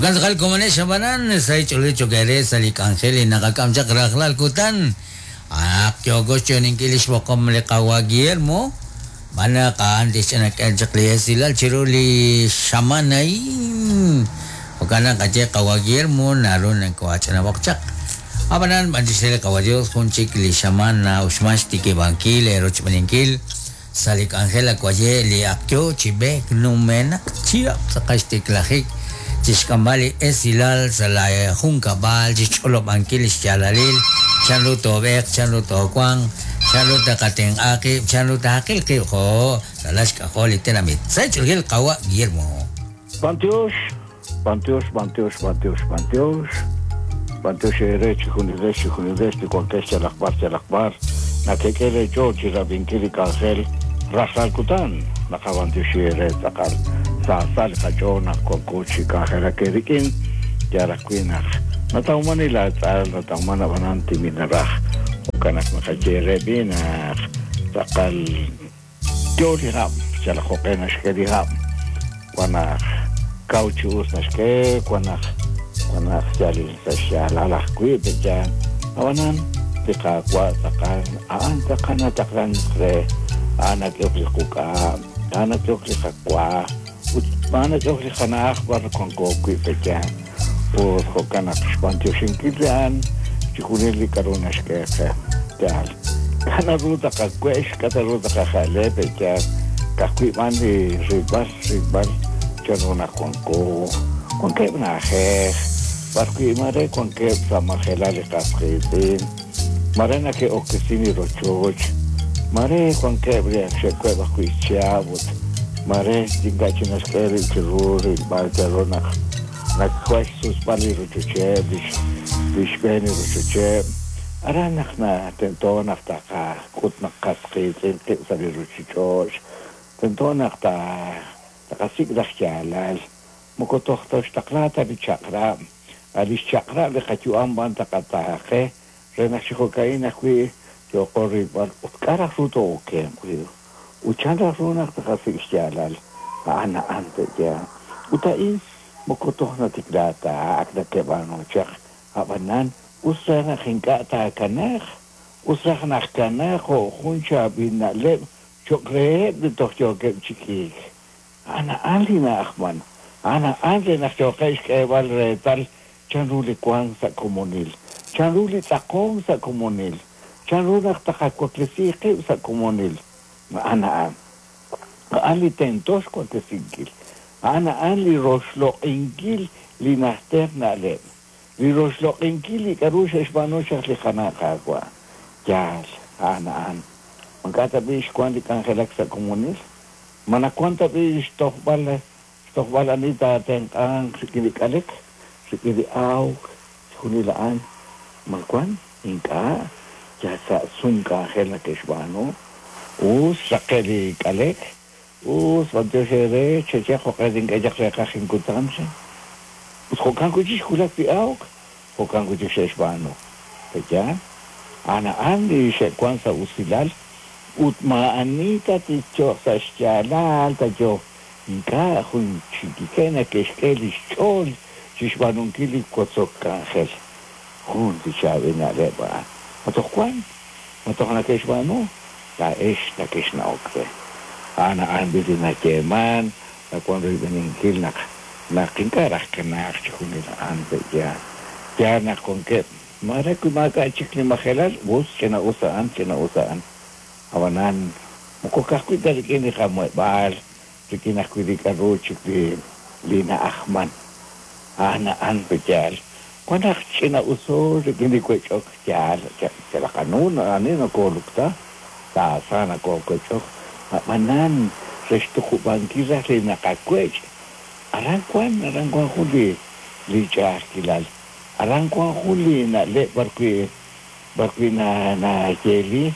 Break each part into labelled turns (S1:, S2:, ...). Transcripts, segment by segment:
S1: Jo'kan tz'aqal komonex ab'anan sahil ch'oolejil cho'q eere sa' li k'anjel li naqak'am chaq rajlal kutan. A'anaq yooko xyo'oninkil li xb'oqom li qawa' Guillermo, xb'aan naq a'an tixch'inak'e chaq li esilal chiru li xamaan a'in. Jo'kan naq qaye qawa' Guillermo naru nakoo'ach'inab'oq chaq. Ab'anan b'antiox re li qawa' Dios jun chik li xamaan na'uxman xtikib'ankil eerochb'eninkil sa' li k'anjel awaye' li ak yoo chi b'eek numenaq chihab' tz'aqal xtiklajik chixk'amb'al li esilal sa' laa junkab'al, chixch'olob'ankil lix yaalalil, chan ru toob'eeq, chan ru toowanq, chan ru taqatenq'a qib', chan ru taqil qib' jo' ralal xk'ajol li tenamit. Sa' xch'oolil qawa' Guillermo.
S2: B'antiox, b'antiox, b'antiox, b'antiox, b'antiox. B'antiox eere chijunilex, chijunilex li wankex yalaq b'ar, yalaq b'ar. Nakek'e lee ch'ool chirab'inkil li k'anjel rajlal kutan. Naqab'antioxi eere tz'aqal. Sa sa li qach'ool naq wanko chi k'anjelak eerik'in. Yaal ajwi' naq natawman li laatz'al, natawman ab'anan timil naraj. Jo'kan naq naqaye eere b'i' naq tz'aqal. Yo li hab', yalaq jo'q'e naxk'e li hab', wan naq kaw chi us naxk'e, wan naq wan naq yal sa' xyaalal ajwi' pe'yaal. Ab'anan, li Qaawa' tz'aqal, a'an tz'aqal nataqlank re, a'an nak'ehok li quk'a', a'an nak'ehok li qawa, ut a'an nak'ehok li qana'aj b'ar wanko wi' pe'yaal. Ut jo'kan naq xb'antioxinkil li a'an chixjunil li k'a'ru naxk'e qe. Yaal. K'a' naru taqawex, k'a' ta ru taqaja'le pe' yaal, ka'ajwi' b'an li rilb'al, rilb'al chan ru naq wanko. Wankeb' na'ajej b'ar wi' maare wankeb' sa' majelal li qas qiitz'in, maare neke'okesin li rochoch, maare wankeb' li ak xe'web' ajwi' xchihab' ut maare ink'a' chik naxk'e rib' chiru rilb'al chan ru naq Nawan xsusb'al li rochocheb', li xb'een li rochocheb'. Aran naq tento naq taqak'ut naq qas qiitz'in qib' sa' li ruchich'och'. Tento naq taqasik' raj yaalal. Moko toj toxtaqla ta li chaq'rab', a' lix chaq'rab' li qayu'am b'an taqataaqe re naq chi jo'ka'in ajwi' yooqo rilb'al ut k'a' raj ru too'okenq wi' ut chan raj ru naq taqasik' xyaalal a'an a'an te'yaal. Ut a'in moko toj natikla ta, ak nake'b'aanu chaq, a'b'anan us raj naq ink'a' taakanaaq, us raj naq kanaaq jo' jun chaab'il na'leb' cho'q reheb' li toj yookeb' chi k'iik. A'an a'an li na'ajman. A'an a'an re naq yooqeb' xk'eeb'al reetal chanru li wank sa' komonil, chanru li tz'aqonk sa' komonil, chanru naq taqawaklesi qib' sa' komonil. A'an a'an. A'an li tento xwaklesinkil. A'an a'an li roxloq'inkil li najter na'leb', li roxloq'inkil li k'a'ru xe'xb'aanu chaq li qana' Qaawa'. Yaal, a'an a'an. Ma ink'a' tab'i' xwank li k'anjelak sa' komonil? Ma nawank tab'i' xtojb'al xtojb'al ani taatenq'anq rik'in li k'alek, rik'in li awk, chixjunil a'an? Ma wank? Ink'a', yal sa' sum k'anjel nake'xb'aanu. Us raqe' li k'alek, us b'antiox eere, cheye jo'q'e tink'e chaq reeqaj inkutan, chan. Ut jo'kan wi' chik xwulak li awk, jo'kan wi' chik xe'xb'aanu. Pe'yaal? A'an a'an li xe'wank sa' usilal ut maa'ani ta tixcho'q sa' xyaalal ta yo ink'a' jun chikike neke'xk'e li xch'ool chi xb'aanunkil li wotzok k'anjel. Jun li chaab'il na'leb' a'an. Ma toj wank? Ma toj neke'xb'aanu? Laa'ex nakexna'ok re. A'an a'an b'i li nayeeman, nawan royb'eninkil naq naq ink'a' raj kanaaq chixjunil a'an pe'yaal. Yaal naq wankeb', maare wi maak'a' chik li majelal, us, ch'ina-us a'an, ch'ina-us a'an. Ab'anan, moko ka'ajwi' ta rik'in li qamuheb'aal, rik'in ajwi' li k'a'ru chik li li na'ajman. A'an a'an pe'yaal. Wan naq ch'ina-uso rik'in li wech'ok yaal, yalaq anu ani nokoolukta, saasa nokoowech'ok, ab'anan re xtuqub'ankil raj li naqawech', aran wan, aran wan jun li li ch'a'ajkilal, aran wan jun li na'leb' b'arwi' b'arwi' nayeeli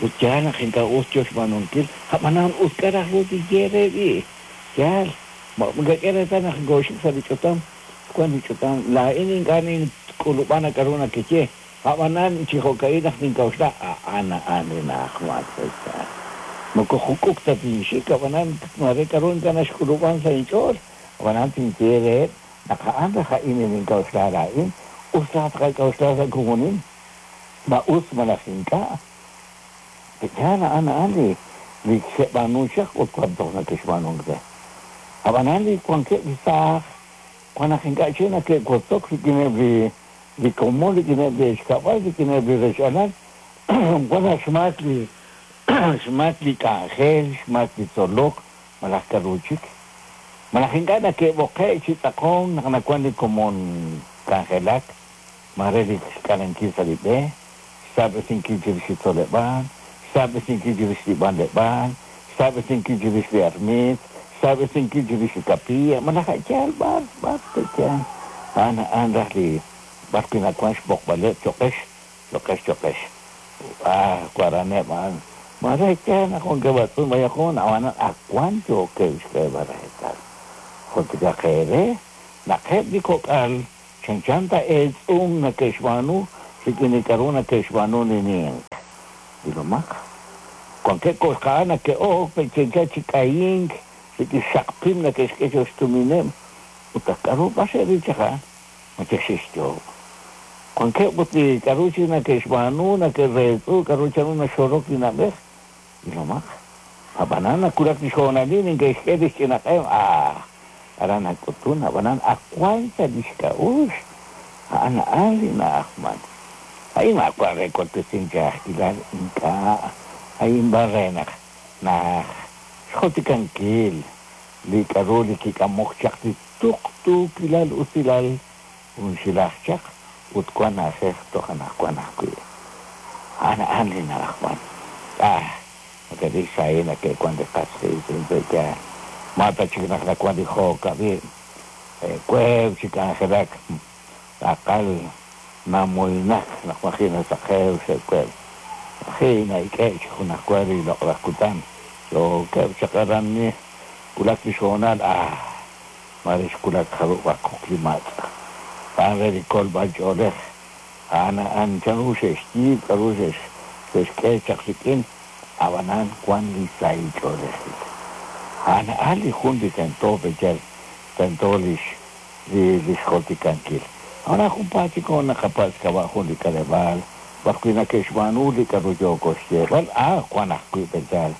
S2: ut yaal naq ink'a' us yo xb'aanunkil, ab'anan ut k'a' raj ru tinye re b'i'? Yaal, ma nakak'e reetal naq nkooxik sa' li ch'utam? Wan li ch'utam, laa'in ink'a' nink'ulub'a na k'a'ru nakeye, a'b'anan chi jo'ka'in naq nink'a'uxla, a'an a'an li na'ajman sa' Moko juk'uk ta tinxik, a'b'anan maare k'a'ru ink'a' naxk'ulub'an sa' inch'ool, a'b'anan tinye reheb' Naq a'an raj a'in li nink'a'uxla laa'in, us raj tqak'a'uxla sa' komonil, ma us malaj ink'a'. Pe'yaal a'an a'an li li xe'b'aanunk chaq ut wan toj nake'xb'aanunk re. Ab'anan li wankeb' li saaj, wan naq ink'a' chik nake'wotzok rik'ineb' li li komon, rik'ineb' li rechkab'al, rik'ineb' li rech-alal, wan naq xmaak li xmaak li k'anjel, xmaak li tzolok, malaj k'a'ru chik. Malaj ink'a' nake'b'oqe' chi tz'aqonk naq nawan li komon k'anjelak, maare li xk'alenkil sa' li b'e, xsaab'esinkil chirix li tzoleb'aal, xsaab'esinkil chirix li b'anleb'aal, xsaab'esinkil chirix li armiit, xsaab'esinkil chirix li kapilla, malaj a' yaal b'ar, b'ar pe'yaal. A'an a'an raj li b'ar wi' nawan xb'oqb'aleb' cho'qex, cho'qex, cho'qex. Ah, waraneb' a'an. Maare yaal naq wankeb' atz'um b'ayaq hoon, ab'anan ak wan yookeb' xk'eeb'al reetal. Jultikaq eere naq eb' li kok'al chanchan ta eetz'um nake'xb'aanu rik'in li k'a'ru nake'xb'aanu li ninq. Ilomaq. Wankeb' ko'xqa'al nake'ok pe' chanchan chi k'ayink rik'in xaqpim nake'xk'e cho'q xtumineb' ut aj k'a'ru b'ar xe'ril chaq a'an. Ma chik xe'xyoob'. Wankeb' ut li k'a'ru chik nake'xb'aanu, nake'reetz'u k'a'ru chanru naxorok li na'b'ej. Ilomaq. Ab'anan nawulak li xhoonalil neke'xk'e li xch'inaq'em, ah, aran nak'utun, ab'anan ak wan sa' li xk'a'uxl, a'an a'an li na'ajman. A'in maawa' re waklesink ch'a'ajkilal, ink'a', a'in b'an re naq naj xjultikankil li k'a'ru li kik'amok chaq li tuqtuukilal usilal junxilaj chaq ut wan na'ajej toj anaqwan ajwi'. A'an a'an li na'ajman. Ah, nake'ril xsahil nake'wan li qas qiitz'in pe' yaal. Ma ta chik naq nawan li jo'kab'ib', weeb' chi k'anjelak, tz'aqal namoynak naq maji' nasaqew xe'weeb'. Maji' na'ik'e' chi junajwa li loq'laj kutan. Yookeb' chaq aran wulak li xhoonal, ah, Mare xwulak jarub'aq kok li matz'. A'an re li kolb'al ch'oolej. A'an a'an chanru xe'xyiib' k'a'ru xe'xk'e chaq rik'in, ab'anan wan li sahil ch'oolejil. A'an a'an li jun li tento pe'yaal tento lix li xjultikankil. Ab'anan junpaat chik hoon naqapatz' xk'ab'a' jun li k'aleb'aal b'ar wi' nake'xb'aanu li k'a'ru yooko xyeeb'al, ah, wan ajwi' pe'yaal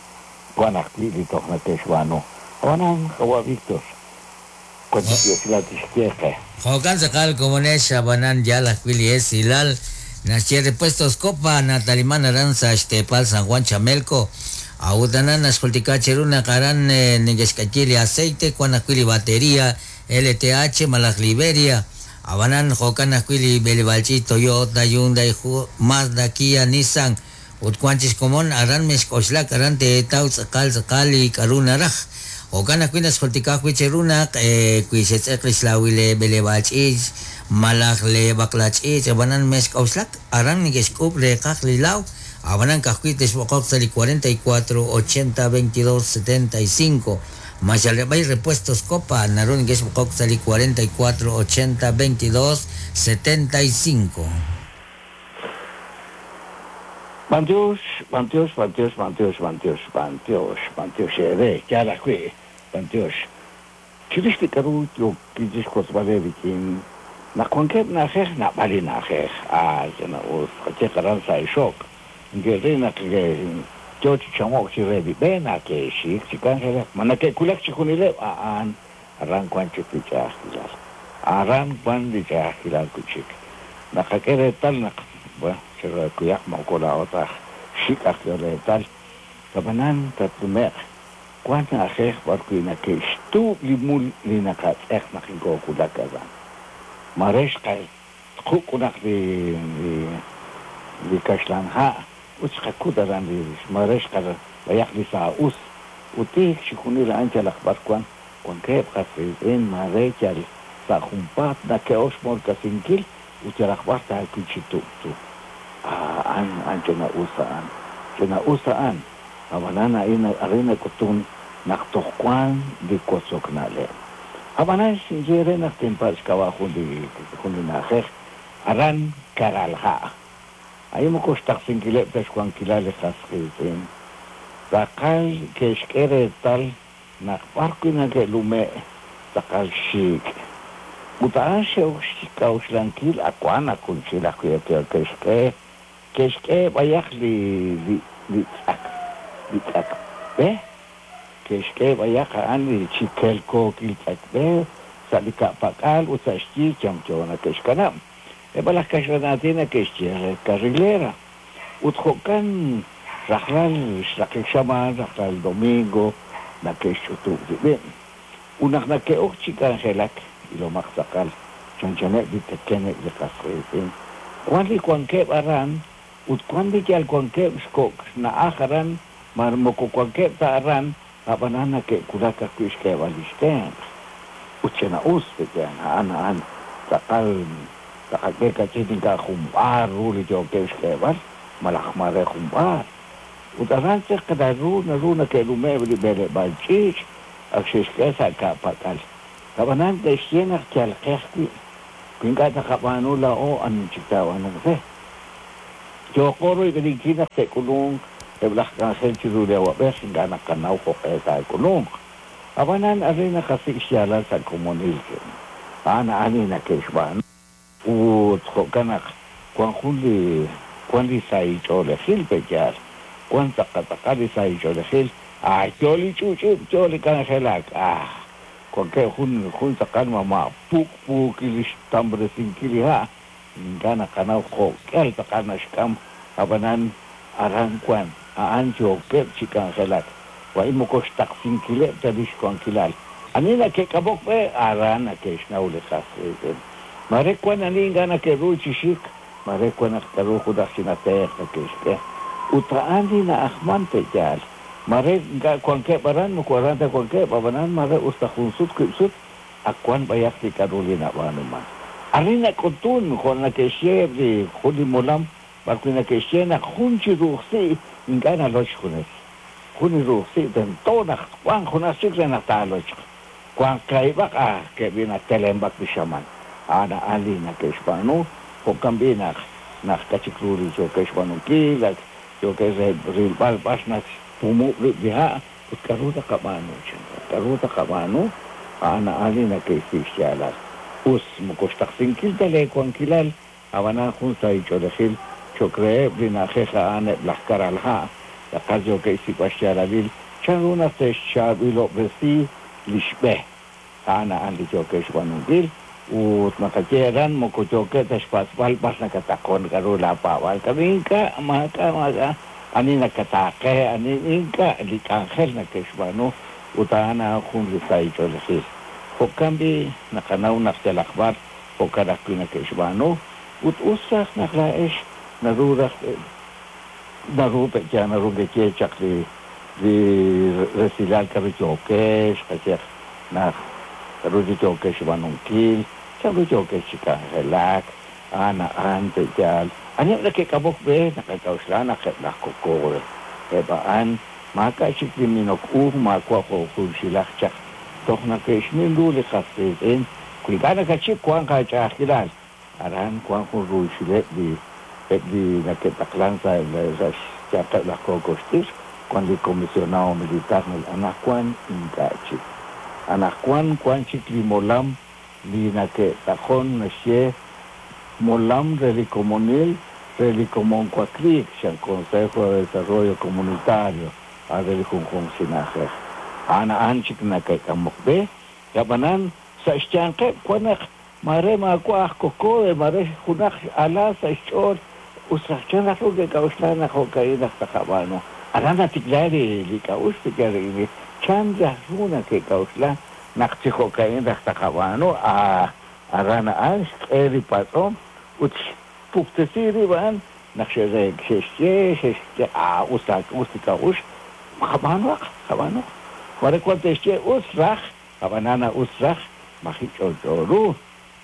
S2: wan ajwi' li toj nake'xb'aanu. Ab'anan, qawa' Víctor, wan chik li esilal tixye qe.
S1: Jo'kan tz'aqal komonex, ab'anan yaal ajwi' li esilal naxye Repuestos Copa nataliman aran sa' xteepal San Juan Chamelco. A'ut aran naxjultika cheru naq aran neke'xk'ayi li aceite, wan ajwi' li bateria LTH malaj Liberia. Ab'anan jo'kan ajwi' li b'eleb'aal ch'iich' Toyota, Hyundai, Mazda, Kia, Nissan Ut wank chi xkomon aran mexk'oxlak aran teetaw tz'aqal tz'aqal li k'a'ru naraj. Jo'kan ajwi' naxjultika ajwi' cheru naq wi xetz'eq li xlaawil lee b'eleb'aal ch'iich malaj lee b'aqla ch'iich ab'anan mexk'oxlak aran neke'xk'uub' reeqaj li laaw ab'anan ka'ajwi' texb'oqoq sa' li 44 80 22 75 Maxaleb'ay Repuestos Copa naru neke'xb'oqok sa' li 44 80 22 75.
S2: B'antiox, b'antiox, b'antiox, b'antiox, b'antiox, b'antiox, b'antiox eere, yaal ajwi', b'antiox. Chirix li k'a'ru yookin chixwotzb'al eerik'in, naq wankeb' na'ajej, naab'al li na'ajej, ah, ch'ina-us, qayeeq aran sa' Ixok, neke'ril naq yoo chi chamo'k chire li b'e, nake'xik chi k'anjelak. Ma neke'wulak chixjunileb'? A'an, aran wan chik li ch'a'ajkilal. Aran wan li ch'a'ajkilal wi' chik. Naqak'e reetal naq, bueno, chiqakuyaq moko laa'o ta aj xik' aj k'ehol reetal, ab'anan tatnume'q wan na'ajej b'ar wi' nake'xtuub' li mul li naqatz'eq naq inkoowulak aran. Mare xqatquk' junaq li li li kaxlan ha' ut xqakut aran li mare xqab'ayaq li saa'us ut tiik chixjunil a'an yalaq b'ar wan wankeb' qas qiitz'in mare yal sa' junpaat nake'ok xmolk'asinkil ut yalaq b'ar taawil chi tub'tu. A'an, a'an ch'ina-us a'an. Ch'ina-us a'an. Ab'anan a'in arin nak'utun naq toj wan li wotzok na'leb'. Ab'anan xinye re naq tinpatz' xk'ab'a' jun li jun li na'ajej aran Karalha'. A'in moko xtaqsinkileb' ta xwankilal li qas qiitz'in. Tz'aqal ke'xk'e reetal naq b'ar wi' nake'lume' tz'aqal xik'. Ut a'an xe'ok xk'a'uxlankil ak wan naq junxil ajwi' ke'xk'e ke'xk'e b'ayaq li li li tz'ak li tz'ak b'e ke'xk'e b'ayaq a'an li chi kelkookil tz'ak b'e sa' li ka'pak'al ut sa' xyi yamyo nake'xkanab'. Eb' laj kaxlan aatin nake'xye re carrilera. Ut jo'kan rajlal xraqik xamaan rajlal domingo nake'xch'utub' rib'eb'. Ut naq nake'ok chi k'anjelak ilomaq tz'aqal chanchaneb' li teken eb' li qas qiitz'in. Wan li wankeb' aran ut wan li yal wankeb' xkok' xna'aj aran ma moko wankeb' ta aran ab'anan nake'wulak ajwi' xk'eeb'al li xtenq'. Ut ch'ina'us pe'yaal a'an a'an tz'aqal taqak'e kach'in ink'a' jun b'aar ru li yookeb' xk'eeb'al malaj mare jun b'aar. Ut aran chaq naru naru nake'nume' li b'eleb'aal ch'iich' ak xe'xk'e sa' ka'pak'al. Ab'anan te'xye naq yal qe ajwi'. Wi ink'a' taqab'aanu laa'o ani chik taab'aanunq re. Yooqo royb'eninkil naq te'k'ulunq eb' laj k'anjel chiru li awab'ej ink'a' naqanaw jo'q'e taak'ulunq. Ab'anan arin naqasik' xyaalal sa' komonil. A'an a'an li nake'xb'aanu. Ut jo'kan naq wan jun li wan li sahil ch'oolejil pe'yaal. Wan tz'aqal tz'aqal li sahil ch'oolejil. Ah, yo li ch'uch'ub', yo li k'anjelak. Ah, wankeb' jun jun tz'aqal mama' puk'puukil li xtamresinkil li ha'. Ink'a' naqanaw jo'k'ihal tz'aqal naxk'am. Ab'anan aran wan a'an yookeb' chi k'anjelak. Wa'in moko xtaqsinkileb' ta li xwankilal. Ani nake'k'amok b'e aran nake'xnaw li qas qiitz'in. Mare wan ani ink'a' nake'ru chi xik, mare wan naq k'aru junaq ch'ina tenq' nake'xk'e. Ut a'an li na'ajman pe'yaal. Mare ink'a' wankeb' aran moko aran ta wankeb', ab'anan mare us ta jun sut wib' sut ak wan b'ayaq li k'aru li nab'aanuman. Arin nak'utun jo' nake'xye eb' li jun li molam b'arwi' nake'xye naq jun chi ru'ujsi' ink'a' naloch xjunes. Jun li ru'ujsi' tento naq wanq junaq chik re naq taalochq. Wanq kaahib'aq ah ke'b'i natelenb'ak li xamaan. A'an a'an li nake'xb'aanu jo'kan b'i' naq naq k'a' chik ru li yookeb' xb'aanunkil ak yookeb' re rilb'al b'ar naxpumub' rib' li ha' ut k'aru taqab'aanu chan. K'aru taqab'aanu a'an a'an li nake'xsik' xyaalal. Us moko xtaqsinkil ta lee wankilal ab'anan jun sahil ch'oolejil cho'q reheb' li na'ajej a'an eb' laj karal ha' tz'aqal yookeb' xsik'b'al xyaalalil chanru naq te'xchaab'ilob'resi li xb'e. A'an a'an li yookeb' xb'aanunkil ut naqaye aran moko yookeb' ta xpatz'b'al b'ar nakataqon k'aru laapaab'aal k'aru ink'a' maak'a' maak'a' ani nakataaqe ani ink'a' li k'anjel nake'xb'aanu ut a'an a'an jun li sahil ch'oolejil. Jo'kan b'i' naqanaw naq yalaq b'ar jo'kan ajwi' nake'xb'aanu ut us raj naq laa'ex naru raj naru pe'yaal naru keye chaq li li resilal k'aru yookex qayehaq naq k'aru li yookex xb'aanunkil chanru yookex chi k'anjelak a'an a'an pe'yaal. Aniheb' nake'k'amok b'e naqak'a'uxla naq eb' laj COCODE. Eb' a'an maak'a' chik li minok u maawa' jo' junxilaj chaq. Toj nake'xmin ru li qas qiitz'in wi ink'a' nakachik wanq aach'a'ajkilal. Aran wan jun ruuchileb' li eb' li nake'taqlan sa' sa' xyanqeb' laj kookoxt'ikr wan li comisionado militar anaqwan ink'a' chik. Anaqwan wan chik li molam li nake'tz'aqon naxye molam re li komonil re li komon wakliik chan Consejo de Desarrollo Comunitario a re li junjunq chi na'ajej. A'an a'an chik nake'k'amok b'e ab'anan sa' xyanqeb' wan naq mare maawa' aj COCODE mare junaq ala sa' xch'ool us raj chan raj ru ke'k'a'uxla naq jo'ka'in raj taqab'aanu. Aran natikla li li k'a'uxl pe'yaal rik'in chan raj ru nake'k'a'uxla naq chi jo'ka'in raj taqab'aanu ah aran a'an xk'e li patz'om ut xpuktesi rib' a'an naq xe'xye xe'xye ah us us li k'a'uxl qab'aanuaq qab'aanuaq. Mare wan te'xye us raj ab'anan us raj maji' ch'olch'o ru.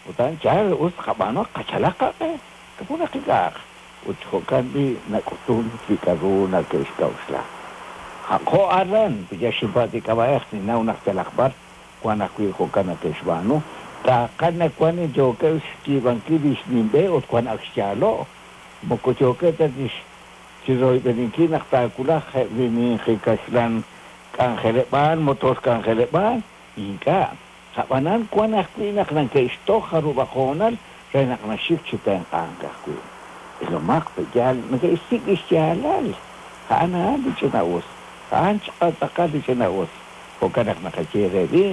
S2: Ut a'an yaal us qab'aanuaq qachalaq qaq'e junaq ink'a'aq. Ut jo'kan b'i' nak'utun li k'aru nake'xk'a'uxla. Jo' aran yal xinpatz' li k'ab'a'ej ninnaw naq yalaq b'ar wan ajwi' jo'kan nake'xb'aanu. Tz'aqal naq wan yookeb' xyiib'ankil li xnimb'e ut wan ak xyaalo'. Moko yookeb' ta chi royb'eninkil naq taawulaq eb' li ninqi kaxlan k'anjeleb'aal motor k'anjeleb'aal ink'a'. Ab'anan wan ajwi' naq nake'xtoj jarub'aq hoonal re naq naxik chi tenq'ank ajwi'. Ilomaq pe'yaal neke'xsik' li xyaalal. A'an a'an li ch'ina'us. A'an tz'aqal li ch'ina'us. Jo'kan naq naqaye re li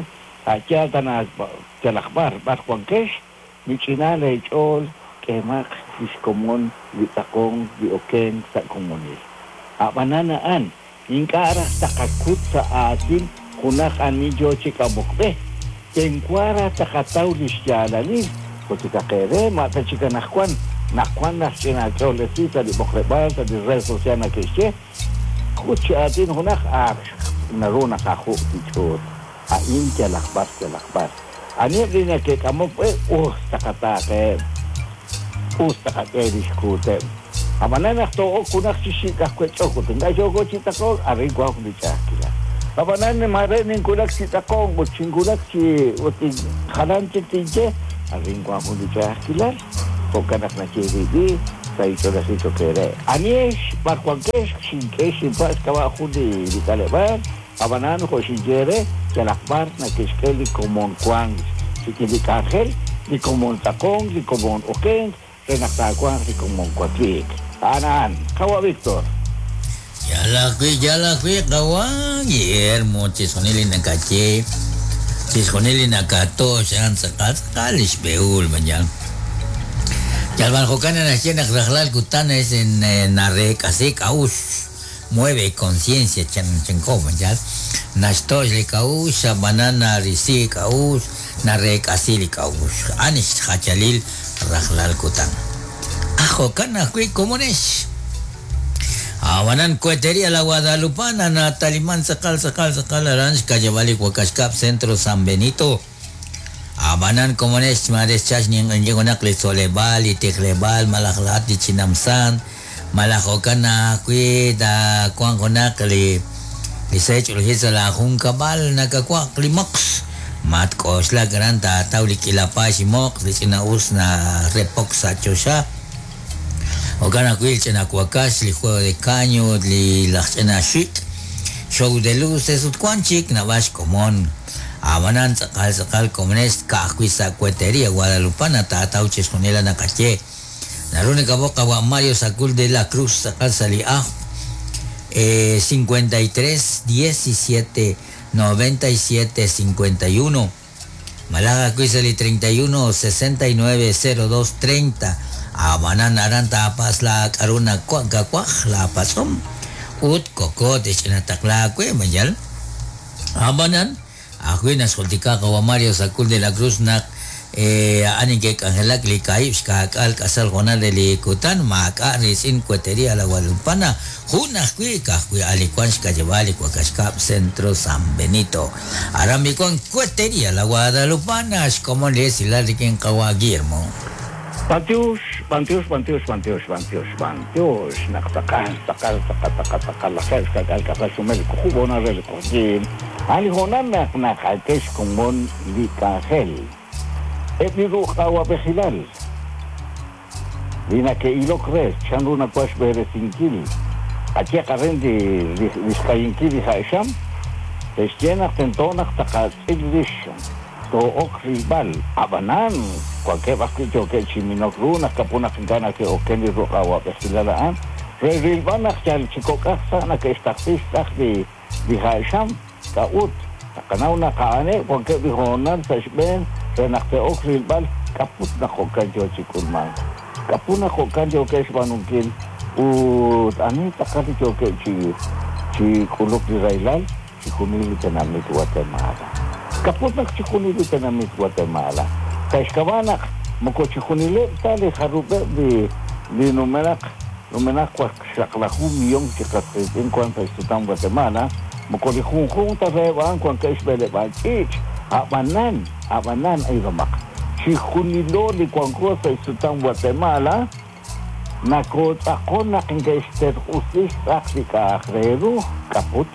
S2: a' yaal tana yalaq b'ar b'ar wankex mich'ina leech'ool k'eemaq li xkomon li tz'aqonk li okenk sa' komonil. Ab'anan a'an ink'a' raj taqakut sa' aatin junaq ani yo chi k'amok b'e. Tenwa raj taqataw li xyaalalil. Jultikaq eere ma ta chik anaqwan naq wan naq ch'ina ch'oolesi sa' li b'oqleb'aal sa' li red social nake'xye kut chi aatin junaq ak naru naqaju' li ch'uut. A'in yalaq b'ar yalaq b'ar. Aniheb' li nake'k'amok b'e us taqataaqeheb'. Us taqak'e li xkuuteb'. Ab'anan naq too'ok junaq chi xik' aj wech'ok ut ink'a' yooko chi tz'aqonk arin wan jun li ch'a'ajkilal. Ab'anan mare ninwulak chi tz'aqonk ut xinwulak chi ut jalan chik tinye arin wan jun li ch'a'ajkilal. Jo'kan naq naye li sa' ch'oolejil cho'q eere. Anihex b'ar wankex xink'e xinpa' xk'ab'a' jun li k'aleb'aal. Ab'anan jo' xinye re yalaq b'ar nake'xk'e li komon wank rik'in li k'anjel, li komon tz'aqonk, li komon okenk re naq taawanq li komon wakliik. A'an a'an. Qawa' Víctor.
S1: Yalaq wi' qawa' Guillermo chixjunil li nakaye chixjunil li nakatox a'an tz'aqal tz'aqal li xb'ehul mañal. Yalb'an jo'kan naxye naq rajlal kutan es en nareek'asi k'a'uxl mueve conciencia chan chanko mañal. Naxtox li k'a'uxl ab'anan narisi k'a'uxl nareek'asi li k'a'uxl. A'an xjachalil rajlal kutan. Ah, jo'kan ajwi' komonex. Ab'anan Cuetería La Guadalupana nataliman tz'aqal tz'aqal tz'aqal aran xkayab'al li Wak'axkab' Centro San Benito. Ab'anan komonex marex chax ninq'inki junaq li tzoleb'aal, li tijleb'aal, malaj laat li chinamsan, malaj jo'kan ajwi' ta wan junaq li seech'olejil sa' la junkab'al nakawaq li moqs. Matk'oxlak aran taataw li k'ila paay chi moqs, li ch'ina'us na repok sa' choxa. Jo'kan ajwi' li ch'ina wakax, li juego de caño, li laj ch'ina xik', show de luces ut wan chik nab'ax xkomon. Ab'anan tz'aqal tz'aqal komonex ka'ajwi' sa' Cuetería Guadalupana taataw chixjunil la naqaye. Naru nakab'oq qawa' Mario Sacul de la Cruz tz'aqal sa' li ajw 53 17 97 51. Malaj ajwi' sa' li 31 69 02 30. Ab'anan aran taapas la k'aru nakawaj la patz'om ut koko tixch'inataqla aawe mayal. Ab'anan ajwi' naxjultika qawa' Mario Sacul de la Cruz naq a'an inke'k'anjelak li kaahib' xka'k'aal k'asal hoonal re li kutan maak'a' riitz'in Cuetería La Guadalupana jun ajwi' ka'ajwi' a' li wan xk'ayeb'aal li Wak'axkab' Centro San Benito. Aran b'i wan Cuetería La Guadalupana xkomon li esilal rik'in qawa' Guillermo.
S2: B'antiox, b'antiox, b'antiox, b'antiox, b'antiox, b'antiox. Naq tz'aqal, tz'aqal, tz'aqal, tz'aqal, tz'aqal lajeb' xka'k'aal k'asal xumel li kujub' hoonal re li q'oqyiin. A'an li hoonal naq naqak'e xkomon li k'anjel. Eb' li ruq'awab'ejilal li nake'ilok re chanru nawan xb'eresinkil qaye qaren li xk'ayinkil li ja'xam te'xye naq tento naq taqatz'il rix too'ok rilb'al. Ab'anan wankeb' ajwi' yookeb' chi minok ru naq kapu naq ink'a' nake'oken li ruq'awab'ejilal a'an re rilb'al naq yal chi kok'aj sa' nake'xtaqsi xtz'aq li ja'xam k'a'ut. Taqanaw naq a'aneb' wankeb' li hoonal sa' xb'een re naq te'ok rilb'al k'aput naq jo'kan yoo chi k'ulmank. K'aput naq jo'kan yookeb' xb'aanunkil ut ani tz'aqal li yookeb' chi k'uluk li rahilal chixjunil li tenamit Guatemala. K'aput naq chixjunil li tenamit Guatemala. Sa' xk'ab'a' naq moko chixjunileb' ta li jarub'eb' li numenaq numenaq waqxaqlaju millón chi qas qiitz'in wan sa' xsutam Guatemala, moko li junjunq ta reheb' a'an wankeb' xb'eleb'aal ch'iich'. Ab'anan, ab'anan ayromaq. Chixjunilo li wanko sa' xsutam Guatemala nakootz'aqon naq inke'xterq'usi xtz'aq li k'a'aj re ru k'aput.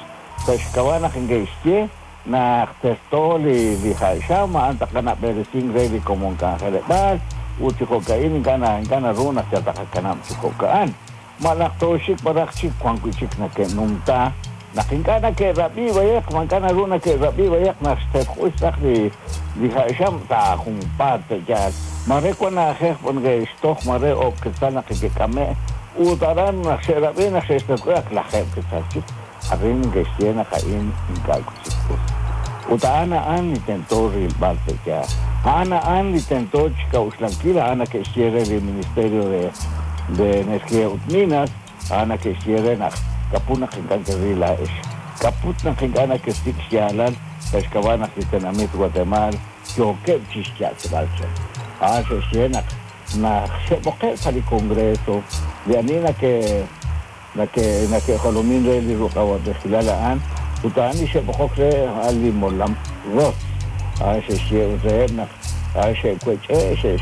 S2: Sa' xk'ab'a' naq inke'xye naq terto li ja'xam a'an taqanab'eresink re li komon k'anjeleb'aal ut chi jo'ka'in ink'a' naru naq yal taqakanab' chi jo'ka'an. Ma naq tooxik b'araq chik wan wi' chik nake'numta naq ink'a' nake'rab'i b'ayaq ma ink'a' naru nake'rab'i b'ayaq naq xterq'uy xtz'aq li li ha'xam sa' junpaat pe'yaal mare wan na'ajej neke'xtoj mare oob' quetzal naq neke'k'ame' ut aran naq xe'rab'i naq xe'xtoj ak lajeeb' quetzal chik arin neke'xye naq a'in ink'a' chik us ut a'an a'an li tento rilb'al pe'yaal a'an a'an li tento xk'a'uxlankil a'an neke'xye re li Ministerio de Energía ut Minas a'an neke'xye re naq kaput naq ink'a' keril laa'ex kaput naq ink'a' nakesik' xyaalal sa' xk'ab'a' naq li tenamit Guatemala yookeb' chixya'chb'al chaq a'an xe'xye naq naq xe'b'oqe' sa' li Congreso li ani nake'jolomin re li ruq'awab'ejilal a'an ut a'an li xe'b'oqok re a'an li molam ROS a'an xe'xye reheb' naq a'an xe'wech'e'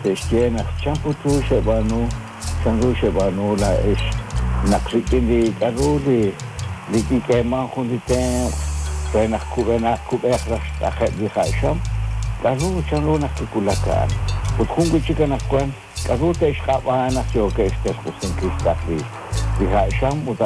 S2: xe'xye naq chan put ru xe'b'aanu chan ru xe'b'aanu laa'ex naq rik'in li k'a'ru li kik'eeman jun li tenq' re naq kub'enaq kub'eq raj xtz'ajeb' li ha'xam k'a'ru chan ru naq kiwulak a'an ut jun wi' chik anaqwan k'a'ru te'xq'ab'a naq yookeb' xterq'usinkil xtz'aq li ha'xam ut.